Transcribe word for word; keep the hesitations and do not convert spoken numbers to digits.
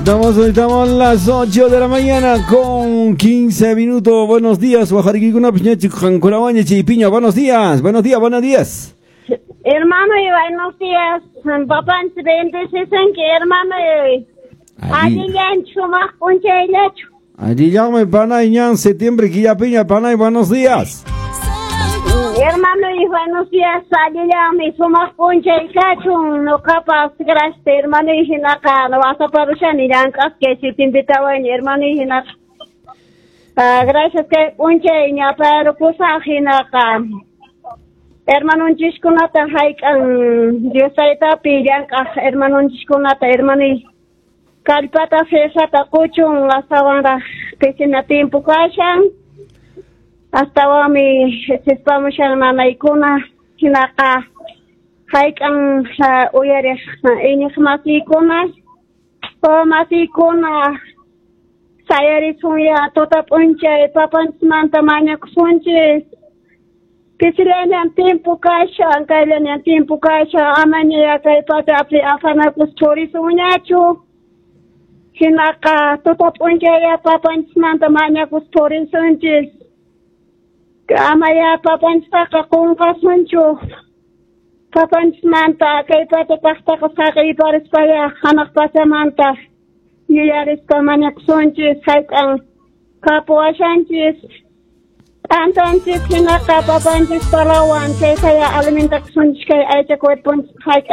Estamos, estamos a las ocho de la mañana con quince minutos. Buenos días, Piña. Buenos días, buenos días, buenos días. Hermano, y buenos días. Papanchis bendecisunki, hermano. Allillanchu sumaq p'unchayllachu. Allillanmi panay ñan septiembre killapiña panay, buenos días. Hermano, y buenos días. Allillanmi sumaq p'unchay kachun. Nuqapas gracias, hermano, y hinaqa wasaparushani llank'asqa septiembretawaña, hermano, y hinaqa. Gracias kay p'unchay ñaparukusaq hinaqa. Hermanonchiskunata hayk'an Dios taytapi llank'aq hermanonchiskunata, hermano, kallpata fiesata quchun astawanraq pisina tiempo kashan astawanmi sispamushan nanaykuna hinaqa hayk'an uyariq iñiq masiykuna masiykuna sayarisunya tuta p'unchay papanchismanta mañakusunchis. Pisillañan tiempo kashan, kayllañan tiempo kashan, amaña kay pachapi afanakus purisunñachu. Hinaqa tuta p'unchaya papanchismanta mañakus purisunchis. Amaya papanchistaqa qunqasunchu. Papanchismanta kay pacha kaqtaqa saqiyparispaya hanaq pachamanta yuyarispa mañakusunchis, hayk'an kapuwashanchis. T'antanchis hinaqa papanchis palawan chaytaya alimentakusunchis kay aycha cuerponchis hayk'an.